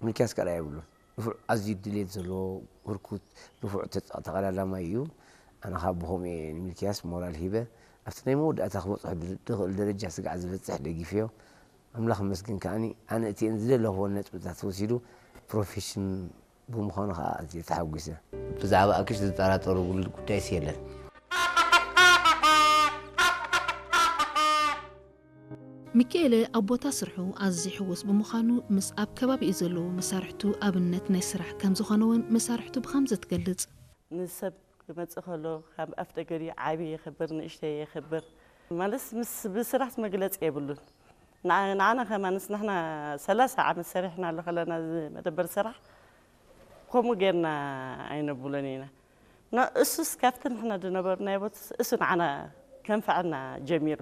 ሚልክያስ ካልኣይ የብሉን። ንፉዕ፣ ኣዝዩ ድሌት ዘለዎ፣ ህርኩት፣ ንፉዕ ተጻ-፣ ተቐዳዳማይ እዩ። ኣነ ካብ ብኸምኡ እየ ንሚልክያስ ሞራል ሂበ። ኣብቲ ናይ መወዳእታ ክበጽሖ ድ-፣ ድኽእል ደረጃ ስጋዕ ዝበጽሕ ደጊፈዮ። ኣምላኽ ይመስገን ከኣኒ፣ ኣነ እቲአን ዝደለኽዎን ነጥብታት ወሲዱ ፕሮፌሽን ብምዃኑ ኸኣ ኣዝየ ተሓጒሰ። ብዛዕባ ኣክሽ ዝጠራጠሩ ጉል-፣ ጉዳይስ የለን። ሚካኤለ ኣብ ቦታ ስርሑ ኣዝዩ ሕጉስ ብምዃኑ፣ ምስ ኣብ ከባቢኡ ዘለዉ መሳርሕቱ ኣብነት ናይ ስራሕ ከም ዝኾነ እውን መሳርሕቱ ብኸምዚ ትገልጽ። ንሰብ ክመጽእ ከሎ ካብ ኣፍ ደገ ድዩ ዓቢ የኽብር፣ ንእሽተይ የኽብር። ማለትስ ምስ ብስራሕስ መግለጺ የብሉን። ንዓ-፣ ንዓና ከማንስ ንሕና ሰላሳ ዓመት ሰሪሕና ኣሎ ከለና እዚ መደበር ስራሕ ከምኡ ጌርና ኣይነብሎን ኢና። ን-፣ እሱስ ካብቲ ንሕና ዝነበርናዮ ቦትስ እሱ ንዓና ከንፍዐና ጀሚሩ።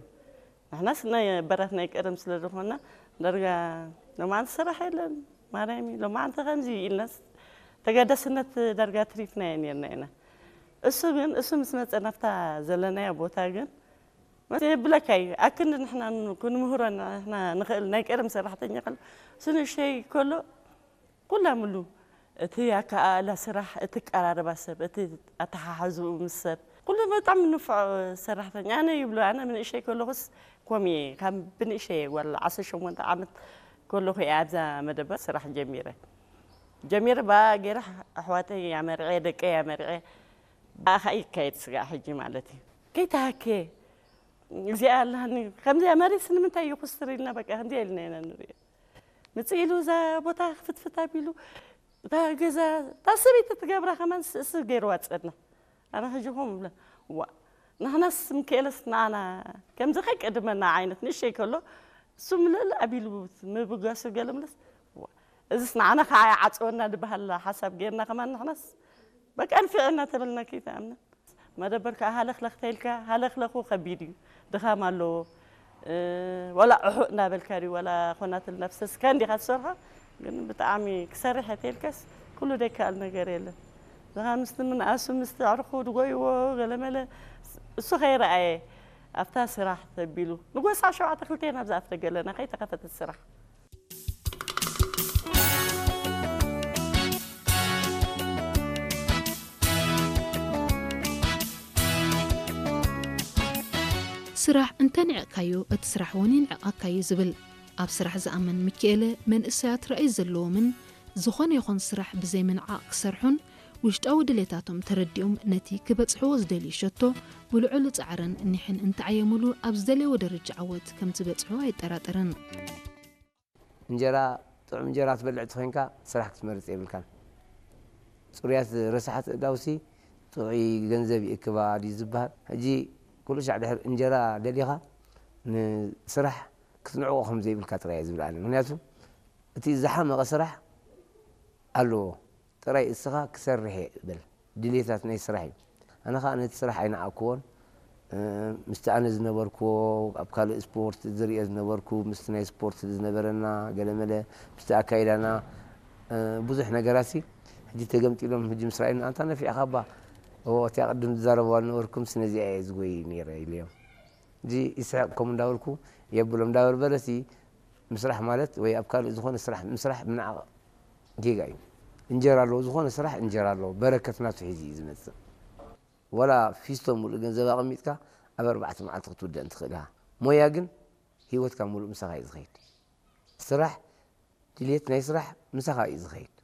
ንሕናስ ናይ በራት ናይ ቀደም ስለ ዝኾንና ዳርጋ ሎማዓንቲ ስራሕ የለን ማርያም ሎማዓንቲ ከምዚ ኢልናስ ተገዳስነት ዳርጋ ትሪፍናዮ ኔርና ኢና። እሱ ግን እሱ ምስ መፀ ናብታ ዘለናዮ ቦታ ግን የብለካ እዩ ኣክንዲ ንሕና ክንምህሮ ንሕና ንኽእል ናይ ቀደም ሰራሕተኛ ከሎ እሱ ንእሽተይ ከሎ ኩላ ምሉ እቲ ኣከኣእላ ስራሕ እቲ ቀራርባ ሰብ እቲ ኣተሓሓዝኡ ምስ ሰብ ኩሉ በጣም ንፉዕ ሰራሕተኛ ኣነ ይብሎ ኣነ ብንእሸይ ከለኹስ ኮም እየ ካብ ብንእሸይ ጓል ዓሰርተ ሸሞንተ ዓመት ከለኹ እየ ኣብዛ መደበር ስራሕ ጀሚረ ጀሚረ ብኣ ገይረ ኣሕዋተይ ኣመርዕየ ደቀይ ኣመርዕየ ብኣኻ ይካየድ ስጋዕ ሕጂ ማለት እዩ ከይተሃክየ እዚኣ ኣላኒ ከምዚኣ መሬትስ ንምንታይ ይኹስትር ኢልና በቃ ከምዚኣ ኢልና ኢና ንሪኦ ምፅእ ኢሉ እዛ ቦታ ክፍትፍት ኣቢሉ እታ ገዛ እታ ሰበይቲ ትገብራ ከማን ስእሲ ገይርዋ ፀና ኣነ ሕጂ ኹም ብለ ዋ ንሕናስ ምክኤለስ ንኣና ከምዚ ከይቀድመና ዓይነት ንእሸይ ከሎ እሱ ምልእል ኣቢሉ ምብጋሱ ገለ ምለስ ዋ እዚስ ንዓና ከዓ ይዓፅወና ዝበሃል ሓሳብ ገይርና ከማን ንሕናስ በቃ ንፊዕና ተበልና ከይተኣምና መደበር ከዓ ሃለኽለኽ ተይልካ ሃለኽለኹ ከቢድ እዩ ድኻም ኣለዎ ዋላ ዕሑእ እናበልካ ድዩ ዋላ ኮናትል ነፍሰስ ከንዲኻ ትሰርሖ ግን ብጣዕሚ ክሰርሕ ተይልካስ ኩሉ ደይከኣል ነገር የለን ዝኻ ምስቲ ምንኣሱ ምስቲ ኣዕርኹ ድጎይዎ ገለመለ እሱ ከይረኣየ ኣብታ ስራሕ ተቢሉ ንጎሳ ሸውዓተ ክልተ ናብዛ ኣፍተ ገለና ከይተኸፈተት ስራሕ ስራሕ እንተንዕቕካዮ እቲ ስራሕ እውን ይንዕቐካ እዩ ዝብል ኣብ ስራሕ ዝኣምን ሚኪኤለ መንእሰያት ራእይ ዘለዎምን ዝኾነ ይኹን ስራሕ ብዘይ ምንዓቕ ክሰርሑን ውሽጣዊ ድሌታቶም ተረዲኦም ነቲ ክበጽሕዎ ዝደልዩ ሸቶ ብልዑል ጻዕርን ኒሕን እንተዓየሙሉ ኣብ ዝደለይዎ ደረጃ ዓወት ከም ዝበጽሑ ኣይጠራጠርን። እንጀራ ጥዑም እንጀራ ትበልዕ ተኾይንካ ስራሕ ክትመርፅ የብልካን። ፅሩያት ረሳሓት እዳውሲ ጥዑይ ገንዘብ ይእክባ ድዩ ዝበሃል። ሕጂ ኩሉ ሻዕ ድሕር እንጀራ ደሊኻ ንስራሕ ክትንዕቆ ከም ዘይብልካ ጥራይ ዝብል ኣነ። ምክንያቱ እቲ ዝሓመቐ ስራሕ ኣለዎ። ጥራይ እስኻ ክሰርሕ እየ በል። ድሌታት ናይ ስራሕ እዩ። ኣነ ከዓ ነቲ ስራሕ ኣይነዓቅክዎን። ምስቲ ኣነ ዝነበርክዎ ኣብ ካልእ ስፖርት ዝሪኦ ዝነበርኩ ምስቲ ናይ ስፖርት ዝነበረና ገለመለ ምስቲ ኣካይዳና ብዙሕ ነገራሲ ሕጂ ተገምጢሎም ሕጂ ምስ ረኣዩኒ ኣንታ ነፊዕኻ እባ እዎ እቲኣ ቅድም ዝዛረብዋ ዝነበርኩ ምስ ነዚኣ እየ ዝጎይ ነይረ ኢለዮም። እዚ ይስሕቅ ከምኡ እንዳበልኩ የብሎም እንዳበርበረሲ ምስራሕ ማለት ወይ ኣብ ካልእ ዝኾነ ስራሕ ምስራሕ ምንዓቕ ጌጋ እዩ። እንጀራ ኣለዎ፣ ዝኾነ ስራሕ እንጀራ ኣለዎ፣ በረከት ናቱ ሒዙ እዩ ዝመፅእ። ወላ ፊስቶ ሙሉእ ገንዘብ ኣቐሚጥካ ኣብ ኣርባዕተ መዓልቲ ክትውደእን ትኽእል ኢኻ። ሞያ ግን ህይወትካ ሙሉእ ምሳኻ እዩ ዝኸይድ። ስራሕ፣ ድልየት ናይ ስራሕ ምሳኻ እዩ ዝኸይድ።